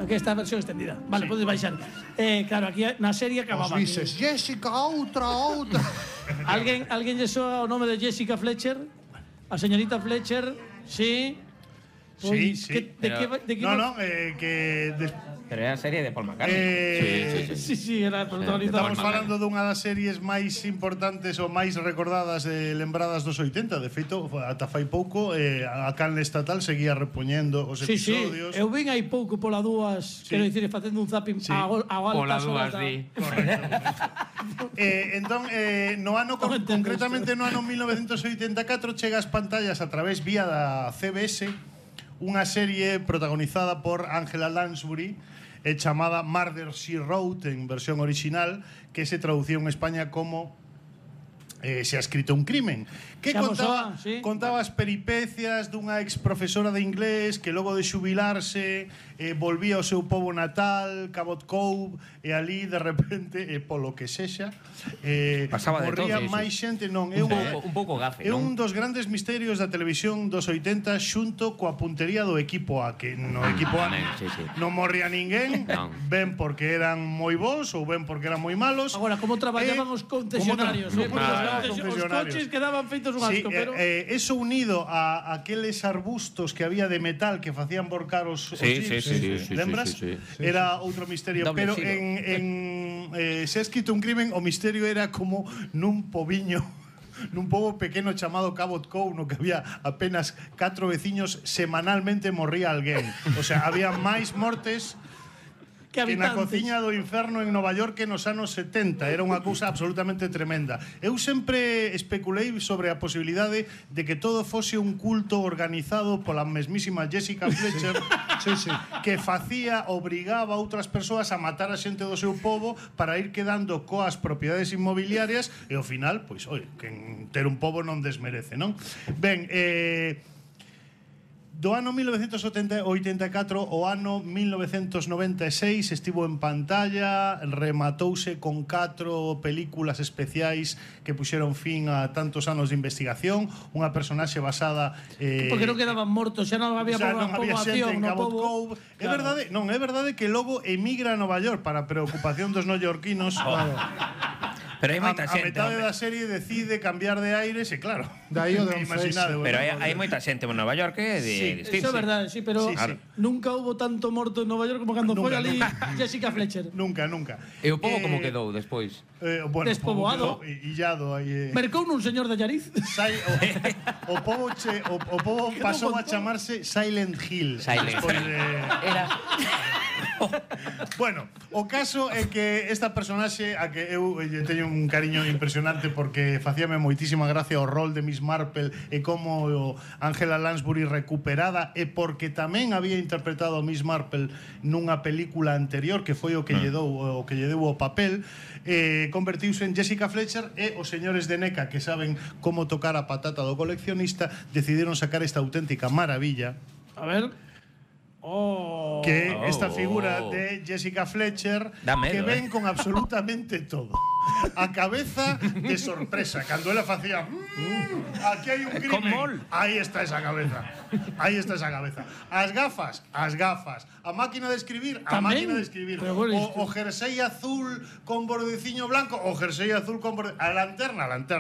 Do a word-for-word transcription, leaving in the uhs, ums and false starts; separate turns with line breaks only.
Aquí está a versión extendida. Vale, sí. Podes baixar. Eh, claro, aquí na serie acababa.
Os vises, Jessica, outra, outra.
Alguén, alguén lle soa o nome de Jessica Fletcher? A señorita Fletcher, sí.
Sí, sí.
Que, de
pero,
que, de que
no, no, eh, que... De,
pero era a serie de Paul McCartney.
Eh,
sí, sí, sí.
Sí, sí, era protagonizado.
Estamos falando dunha das series máis importantes ou máis recordadas e lembradas dos oitenta. De feito, ata fai pouco eh, a canle estatal seguía repoñendo os
sí,
episodios.
Sí, eu vin hai pouco pola dúas, sí. Quero dicir, facendo un zapping sí. a, a altas
pola dúas,
da...
di.
eh, entón, eh, no ano, con, concretamente no ano mil novecentos oitenta e catro, chega ás pantallas a través vía da C B S unha serie protagonizada por Angela Lansbury e chamada Murder, She Wrote en versión original, que se traducía en España como eh, Se ha escrito un crimen, que contaba,
¿sí?
contaba as peripecias dunha ex profesora de inglés que logo de xubilarse eh, volvía ao seu pobo natal, Cabot Cove, e ali de repente, eh, polo que sexa, eh,
pasaba de
morría
todo,
máis
sí.
xente. Non, é
un,
un,
pouco, un pouco gafe,
é
non?
un dos grandes misterios da televisión dos oitenta xunto coa puntería do equipo A, que no equipo A
sí, sí.
non morría ninguén,
non.
ben porque eran moi bons ou ben porque eran moi malos.
Agora, como traballaban
eh,
os concesionarios,
como
tra
eh,
os, os coches quedaban feitos un
sí,
asco, pero
eh, eh, eso unido a aqueles arbustos que había de metal que facían borcar os, os
sí,
jeeps,
sí, sí, sí,
lembras?
Sí, sí, sí.
Era outro misterio.
Doble
Pero
xiro.
en, en eh, Se ha escrito un crimen, o misterio era como nun pobiño, nun pobo pequeno chamado Cabot Cove, no que había apenas catro veciños, semanalmente morría alguén. O sea, había máis mortes
que
que na
habitantes.
cociña do inferno en Nova York nos anos setenta. Era unha cousa absolutamente tremenda. Eu sempre especulei sobre a posibilidade de que todo fose un culto organizado pola mesmísima Jessica Fletcher,
Sí, sí.
que facía, obrigaba a outras persoas a matar a xente do seu pobo para ir quedando coas propiedades inmobiliarias, e ao final, pois, oi, que ter un pobo non desmerece, non? Ben, eh... do ano mil novecentos oitenta e catro ao ano mil novecentos noventa e seis estivo en pantalla, rematouse con catro películas especiais que puxeron fin a tantos anos de investigación, unha personaxe basada eh,
porque non quedaban mortos, xa non había
xa non había xente
poboación
en
no
Cabot
pobo.
Cove. É
Claro.
verdade, non, é verdade que logo emigra a Nova York para preocupación dos neoyorquinos. Claro.
Pero hai moita
a, a
xente,
metade
home.
da serie decide cambiar de aires e claro.
Daí o de
imaginade,
Pero hai,
bueno,
hai moita xente en Nova York que de,
Sí,
de Steve,
Eso é
sí.
verdade, sí, pero
Sí, sí.
nunca hubo tanto morto en Nova York como cando foi
Nunca,
ali
nunca.
Jessica Fletcher.
Nunca, nunca.
E o pobo
Eh,
como quedou despois?
Eh, bueno,
Despoboado.
pobo quedou illado aí. Eh.
Mercou nun señor de Llariz.
Sai, o, o pobo che, o, o pobo
Quedou
pasou
con
a
todo.
chamarse Silent Hill.
Silent
Despois
Hill.
de...
Era
Bueno, o caso é que esta personaxe a que eu lle teño un cariño impresionante porque facíame moitísima gracia o rol de Miss Marple e como Angela Lansbury recuperada, e porque tamén había interpretado a Miss Marple nunha película anterior que foi o que lle dou o que lle deu o papel, eh, convertiuse en Jessica Fletcher, e os señores de NECA, que saben como tocar a patata do coleccionista, decidiron sacar esta auténtica maravilla.
A ver. Oh.
Que
Oh.
esta figura de Jessica Fletcher,
Dá medo,
que ven
eh.
con absolutamente todo. A cabeza de sorpresa, cando ela facía mmm, aquí hai un
Con
crimen.
mol.
Aí está esa cabeza. Aí está esa cabeza. As gafas, as gafas. A máquina de escribir, a
Tamén.
máquina de escribir.
Pero bueno,
o, o jersey azul con bordeciño blanco, o jersey azul con borde... A lanterna, a lanterna.